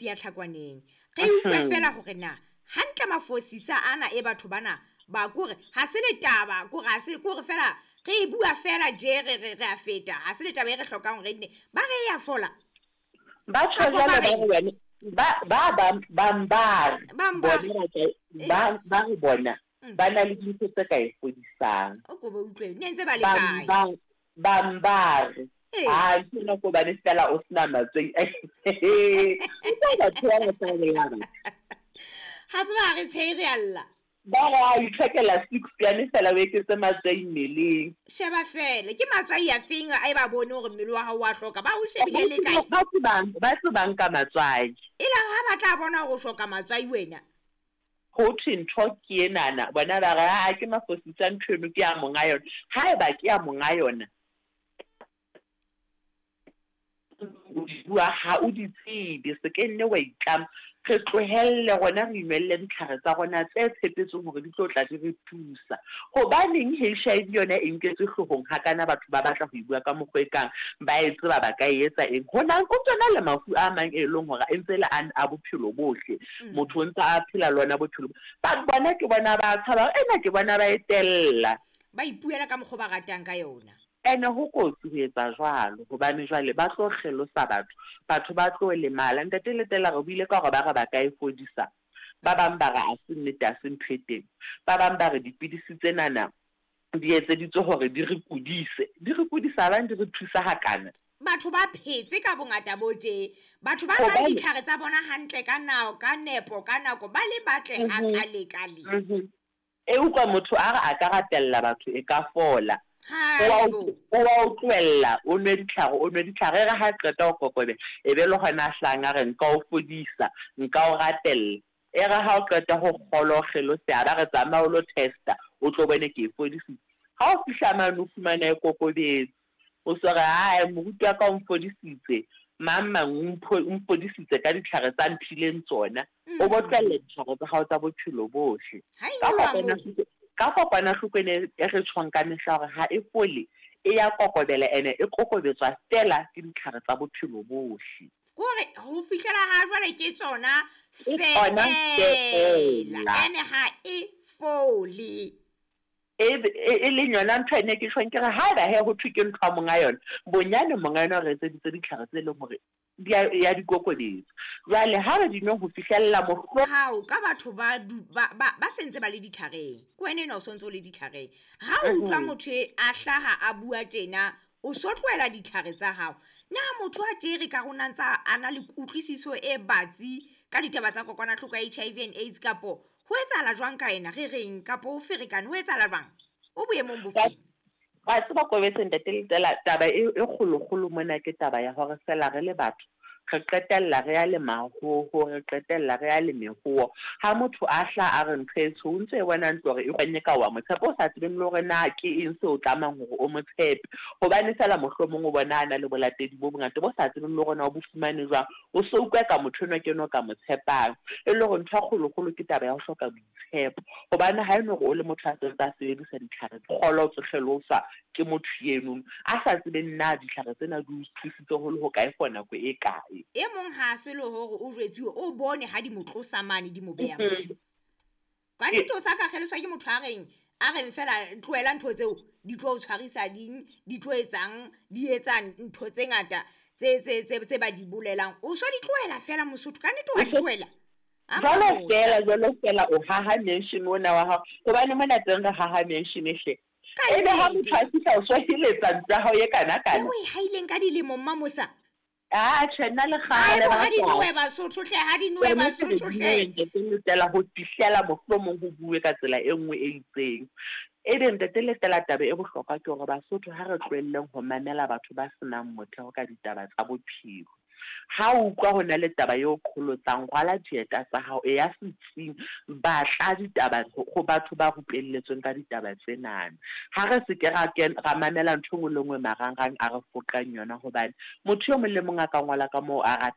Ya Tlhakwaneng. Re utlwe fela hore na hantle mafosisa ana e batho bana ba kore ha se le taba, kore ha se kore fela re e bua fela je re re re a feta, ha se le taba e re hlokang hore nne ba re ya fola. Ba tjho Kapa ba jwalo ba reng? re wena ba ba bang bang ba re Bang ba bona re ba ka ba ba re bona ba na le dintho tse ka e fodisang. O ko ba utlwe ne ntse ba le Bang kae? ba bang ba re Ee. ha ntho ena ke hobane fela o sena matswai. Utlwa batho ba ba tla bolaya batho. Ha tseba ha re tshehe re a lla. Ba re a ithekela six yane fela o eketse matswai mmeleng. Sheba fela ke matswai a feng a e ba bone hore mmele wa hao wa hloka, ba o shebile le kae? Ba tsebang, ba tsebang ka matswai. E la ha ba tla bona hore o hloka matswai wena. Ho thwe ntho ke enana, bona ba re ha ke mafosisa ntho eno ke ya monga yona. Haeba ke ya monga yona, o di bua ha o di tsebe, se ke nne wa itlama. Re tlohelle rona re inwelle ditlhare tsa rona tse tshepetsweng hore di tlo tla di re thusa. Hobaneng HIV yona e nketswe hloohong hakana, batho ba batla ho e bua ka mokgwa e kang ba e tseba ba ka e etsa eng. Hona o tsona le mafu a mang e leng hore e ntse le a bophelo bohle. Motho o ntse a phela le ona bophelo. Ba bona ke bona ba tshaba, ena ke bona ba e tella. Ba ipuela ka mokgwa ba ratang ka yona. Ene ho kotsi ho etsa jwalo hobane jwale ba tlo kgelosa batho, batho ba tlo lemala. Ntate Letela re buile ka hore ba re ba ka e fodisa. Ba bang ba re ha se nnete, ha se ntho e teng. Ba bang ba re dipidisi tsenana di etseditswe hore di re kudise. Di re kudisa bang di re thusa hakana. Batho ba phetse ka bongata bo tje. Batho ba nwang ditlhare tsa bona hantle ka nako, ka nepo, ka nako, ba le batle hakalekale. E utlwa motho a re a ka rapella batho e ka fola. Haibo. O wa o tlohella, o nwe ditlhare, o nwe ditlhare. E re ha qeta ho kokobela, e be le hona a hlang a re nka o fodisa, nka o rapella. E re ha o qeta ho kgolwa o kgeloseha, ba re tsamaya o lo testa, o tlo bone ke e fodisitse. Ha o fihla mane o fumana e kokobetse. O so re ae moruti wa ka o mfodisitse, mang mang o mfodisitse ka ditlhare tsa mphileng tsona. O bo tlohella ditlhare tsa hao tsa bophelo bohle. Ha e Ka nyoloha kopana moo. Ka kokwanahloko ena e re tjhong ka mehla hore ha e fole, e ya kokobela ene e kokobetswa fela ke ditlhare tsa bophelo bohle. Kore ho fihlela ha jwale ke tsona Ke tsona fela. feela. Ene ha e fole. E leng yona ntho ene ke tjhong ke re haeba he ho thwe ke ntho ya monga yona, bonyane monga yona o re etseditse ditlhare tse leng hore di a ya di kokobetsa. Jwale ha re di nwe ho fihlella mohlo Hao ka batho ba ba ba sentse ba le ditlhareng. Ke wena enwa o sontso o le ditlhareng. Ha o utlwa motho a hlaha a bua tjena, o so tlohela ditlhare tsa hao. Na motho a tjere ka rona ntsa a na le kutlwisiso e batsi ka ditaba tsa kokwanahloko ya HIV and AIDS, kapo ho etsahala jwang ka yena, re reng, kapo o ferekane, ho etsahala jwang? O boemong bofeng? Wa tseba Kobetse ntate Letela, taba e kgolokgolo mona ke taba ya hore fela re le batho re qetella re ya le mahoho, re qetella re ya le mehoho. Ha motho a hla a re ntho e tsho, o ntso e bona ntlo hore e kgonne ka wa mo tshepa, o sa tsebeng le hore na ke eng seo tlamang hore o mo tshepe. Hobane fela mohlomong o bona a na le bolatedi bo bongata bo sa tsebeng le hore na o bo fumane jwang. O so utlwa ka motho enwa ke enwa o ka mo tshepang. E le hore ntho ya kgolokgolo ke taba ya ho hloka boitshepo. Hobane ha eno hore o le motho a sentse a sebedisa ditlhare, kgolwa o tlo kgeloswa ke motho eno a sa tsebeng na ditlhare tsena di o thusitse ho le hokae for nako e kae. E mong ha se le hore o jwetsuwe, o bone ha di mo tlosa mane di mo beha moo. Ka nnete o sa ka kgeloswa ke motho a reng fela tlohela ntho tseo di tlo o tshwarisa ding, di tlo etsang, di etsa ntho tse ngata tse ba di bolelang. O so di tlohela fela Mosotho, ka nnete wa di tlohela. Jwalo fela, jwalo fela o haha mansion ona wa hao. Hobane mona teng re haha mansion hle. Ebe ha motho a fihla o so heletsa ntlo ya hao e kana-kana. Eo e haileng ka dilemo Mmamosa. Ah, tjhe, nna le kgale Haebo, ha di ba nowe Basotho hle, ha di nowe Tsona ke re Basotho di hle. nowe, Ntate Letela, ho fihlela mohlomong ho bue ka tsela e nngwe e itseng. Ebe Ntate Letela, taba e bohlokwa ke hore Basotho ha re tlohelleng ho mamela batho ba senang motheo ka ditaba tsa bophelo. Ha o utlwa ho na le taba eo qholotsang, rwala dieta tsa hao, e ya setsing, batla ditaba ho batho ba rupelletsweng ka ditaba tsenana. Ha re se ke ra mamela ntho e nngwe le nngwe marangrang a re foqang yona, hobane motho e mong le mong a ka ngola ka moo a ratang.